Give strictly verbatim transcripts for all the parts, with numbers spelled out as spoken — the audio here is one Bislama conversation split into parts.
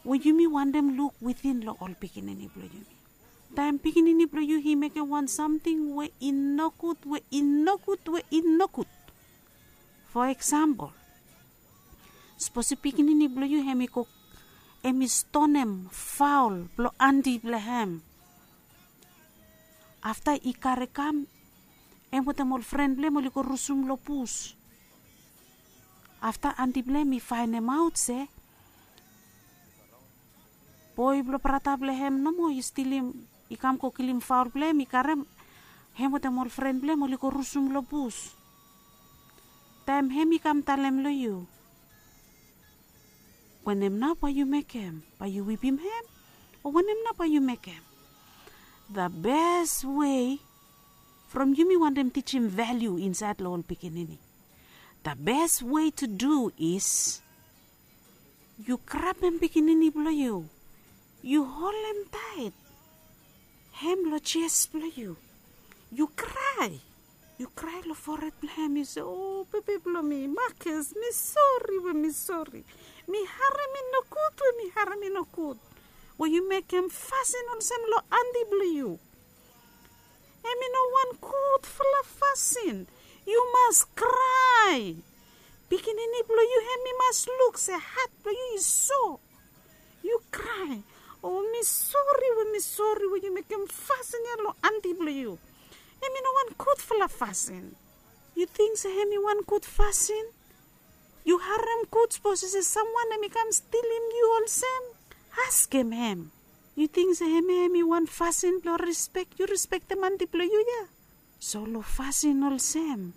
we yumi wantem luk witin long ol pikinini blong yumi. Taem pikinini blong yu i mekem wan samting we i nogud, we i nogud, we i nogud. Fo eksampol, sapos pikinini blong yu hem i go, hem i stonem faol blong anti blong hem. Afta i kare kam, hem wetem ol fren blong hem oli go rusum long bus. Afta anti blong hem i faenemaot se boe blong brata blong hem nomo i stilim, i kam go kilim faol blong hem, i karem hem wetem ol fren blong hem oli go rusum long bus. Taem hem i kam talem long yu, wanem nao bae yu mekem? Bae yu wipim hem? O wanem nao bae yu mekem? The best way, from yumi wantem tijim valiu insaed long ol pikinini, the best way to do is yu grabem pikinini blong yu, yu holem taet hem long jes blong yu, yu krae. Yu krae long fored blong hem, yu se, "O bebe blong mi, Marcus, mi sori we mi sori. Mi harem i nogud we mi harem i nogud we yu mekem fasin olsem long anti blong yu. Hem i no wan gudfala fasin. Yu mas krae. Pikinini blong yu hem i mas luk se hat blong yu i so. Yu krae. O mi sori we mi sori we yu mekem fasin ya long anti blong yu. Hem i no wan gudfala fasin." Yu ting se hem i wan gud fasin? Yu harem gud sapos i se samwan hem i kam stilim yu olsem? Askem hem. Yu ting se hem ya hem i wan fasin blong rispek? Yu rispektem anti blong yu ya? So long fasin olsem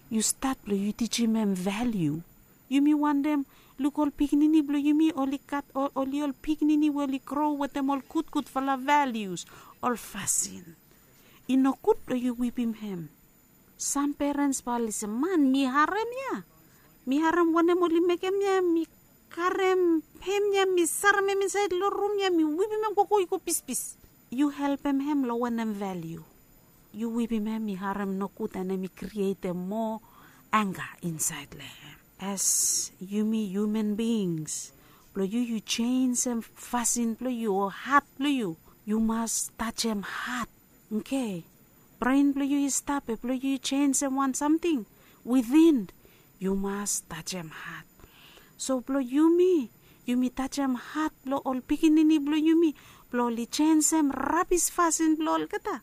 yu stat blong yu tijim hem valiu. Yumi wantem luk ol pikinini blong yumi oli gat, oli ol pikinini we oli gro wetem ol gudgudfala valius, ol fasin. I nogud blong yu wipim hem. Sam perens bae oli se, "Man, mi harem ya. Mi harem wanem oli mekem ya, mi karem hem ya, mi sarem hem insaed long rum ya, mi wipim hem gogo i go bispis." Yu helpem hem long wanem valiu? Yu wipim hem i harem nogud, and hem i krietem moa angga insaed long hem. As yumi human beings, blong yu yu jenisim fasin blong yu o hat blong yu, yu mas tajem hat. Oke. Bren blong yu i stap, be blong yu yu jenisim wan samting within, yu mas tajem hat. So blong yumi, yumi tajem hat blong ol pikinini blong yumi, blong oli jenisim rabis fasin blong olgeta.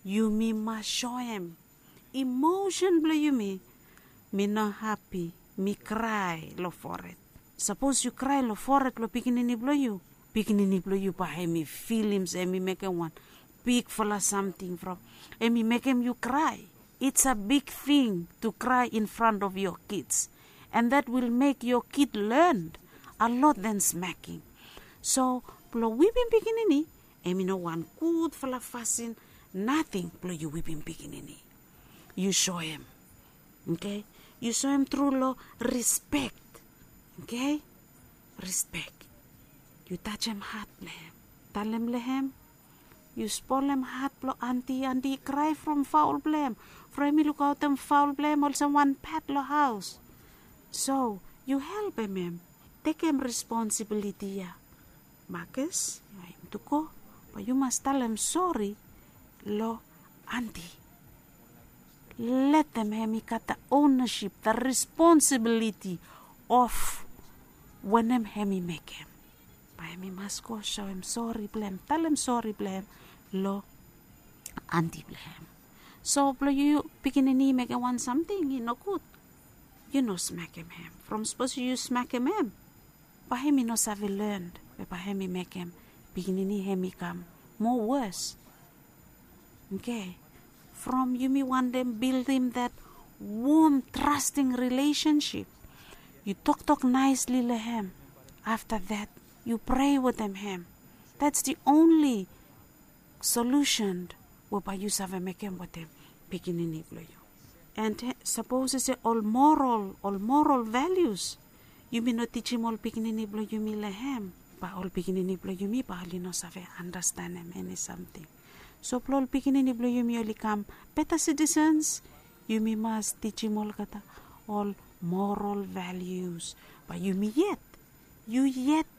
Yumi mas soem emosen blong yumi. Mi no hapi, mi krae long fored. Sapos yu krae long fored blong pikinini blong yu, pikinini blong yu bae hem i filim se hem i mekem wan bigfala samting from, hem i mekem yu krae. It's a big thing to cry in front of your kids, and that will make your kid learn a lot than smacking. So blong wipim pikinini, hem i no wan gudfala fasin nating blong yu wipim pikinini. Yu soem, oke? Yu soem tru long rispek, oke? Rispek. Yu tajem hat blong hem. Talem long hem, yu spolem hat blong anti, anti i krae from faol blong hem, from hem i lukaotem faol blong hem olsem wan pet long haos. So yu helpem hem tekem responsibiliti ya. Marcus, yu aim tu go, bae yu mas talem sori long anti. Letem hem i gat the ownership, the responsibility of wanem hem i mekem. Bae hem i mas go soem sori blong hem, talem sori blong hem long anti blong hem. So blong yu pikinini i mekem wan samting i nogud, yu no smekem hem. From sapos yu smekem hem, bae hem i no save learn, be bae hem i mekem pikinini hem i kam moa wos. Oke. From yumi wantem bildim that warm, trusting relationship, yu toktok naesli long hem. Afta that, yu prea wetem hem. That's the only solution we bae yu save mekem wetem pikinini blong yu. And sapos i se ol moral, ol moral values yumi no tijim ol pikinini blong yumi long hem, bae ol pikinini blong yumi bae oli no save andastanem eni samting. So blong ol pikinini blong yumi oli kam beta sitisens, yumi mas tijim olgeta ol moral values. Bae yumi yet, yu yet